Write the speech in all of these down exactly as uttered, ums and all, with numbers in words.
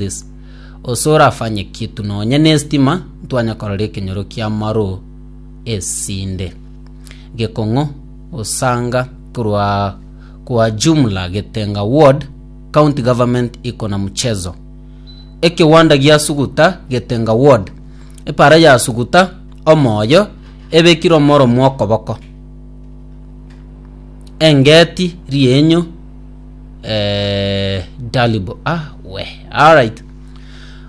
This osoro afanye kitu nonye na estima ntwanya korora ekenyoro kia maro esinde gekong'o osanga korwa kwa jumla Getenga ward county government iko na mchezo ekewanda gia Suguta Getenga ward epara ya Suguta omoyo ebekire omoro mwokoboko engeti rienyo eh, dalibo ah we alright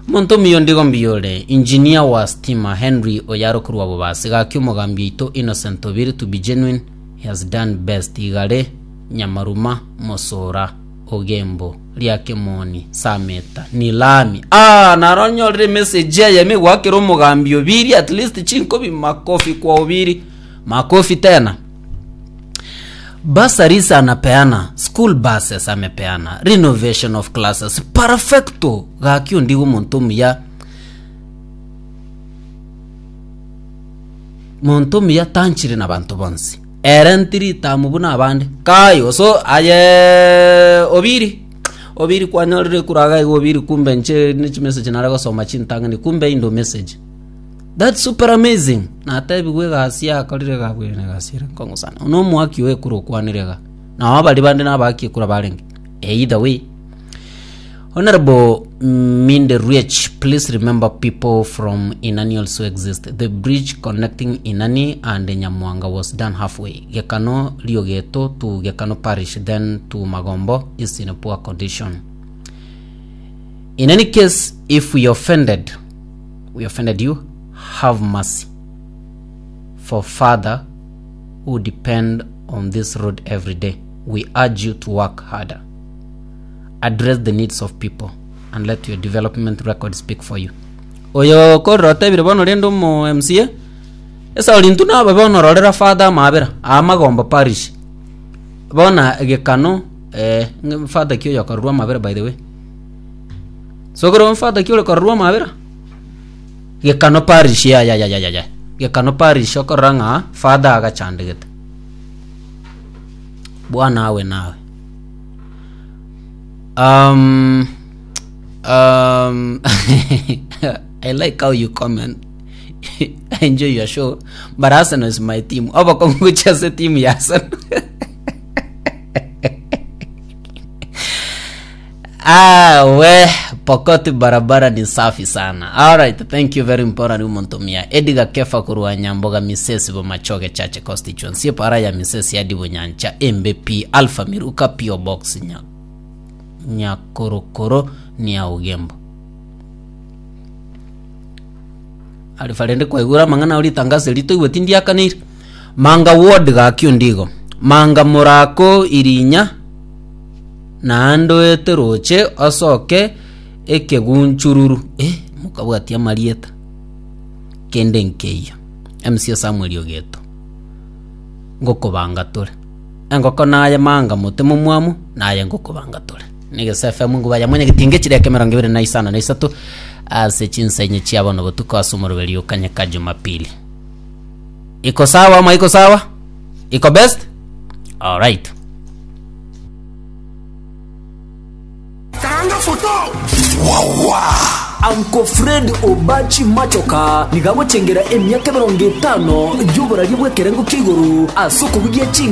omonto omuya ondigo mbiyore engineer wa stima Henry Oyaro korwa Bobasi gaki omogambi oito Innocent Obiri to be genuine he has done best igare Nyamaruma Mosora Ogembo Riakemoni Sameta Nilami ah naronyorire message eye megwakera omogambi Obiri at least chinkobi makofi kwa Obiri makofi tena bursaries anapeana school buses amepeana renovation of classes perfecto gaki ondigo omonto omuya monto omuya tanchire na banto bonsi ere ntiri tamu buna abande kayo so aye Obiri Obiri kwanyorire kuraga igo Obiri kumbe nche nichi message nare gosoma chintang'ani kumbe indo message that's super amazing natebigwe egasi yakorire gabwene egasi ere nkong'u sana ono omwaki oyo ekura okwanire iga nabo baria bande nabaki ekura barenge either way Honorable Minde Riech, please remember people from Inani also exist. The bridge connecting Inani and Nyamwanga was done halfway. Gekano Riogeto to Gekano Parish, then to Magombo is in a poor condition. In any case, if we offended, we offended you, have mercy. For father who depend on this road every day, we urge you to work harder. Address the needs of people and let your development record speak for you. Oyo korora otebire bono rende omo M C A esauri intwe nababe bono rorera father amabera Amagombo parish bona gekano eh, father ki oyo okororwa amabera by the way sokoro father ki ore kororwa amabera gekano parish ya ya ya ya ya ya gekano parish okorora ng'a father agachandegete bwana awe nawe um um I like how you comment. I enjoy your show, but Arsenal is my team. Obakongucha se team ya Arsenal. Ah, we Pokoti barabara ni safi sana. Alright, thank you very important umontomia. Edgar Kefa kurwa Nyamboga Misesi Bomachoge Chache constituency para ya Misesi hadi Bunyancha M B P Alpha Miruka P O Box nya Nyakorokoro ni ya Ugembo. Alifa rende kwaigura mang'ana ori tangazo rito igwe tindiakanire manga ward gakio ndigo manga murako irinya naende oete roche osoke ekegunchururu eh, mokabwatia marieta kende nkeiyo M C Samuel Ogeto ngokobanga tore engoko naye manga mote momwamu naye ngokobanga tore nigese F M nguba ya mwenye gitinge chireke mirongo ibere na isano na isato ase chinsenye chiabono botuko ase omoroberi okanyeka Jumapili iko sawa ama iko sawa iko best alright. Karanga foto. Uncle Fred Obachi Machoka nigagochengera emiaka emirongo etano y'oborari bw'ekerengo kia igoro ase okobugia ching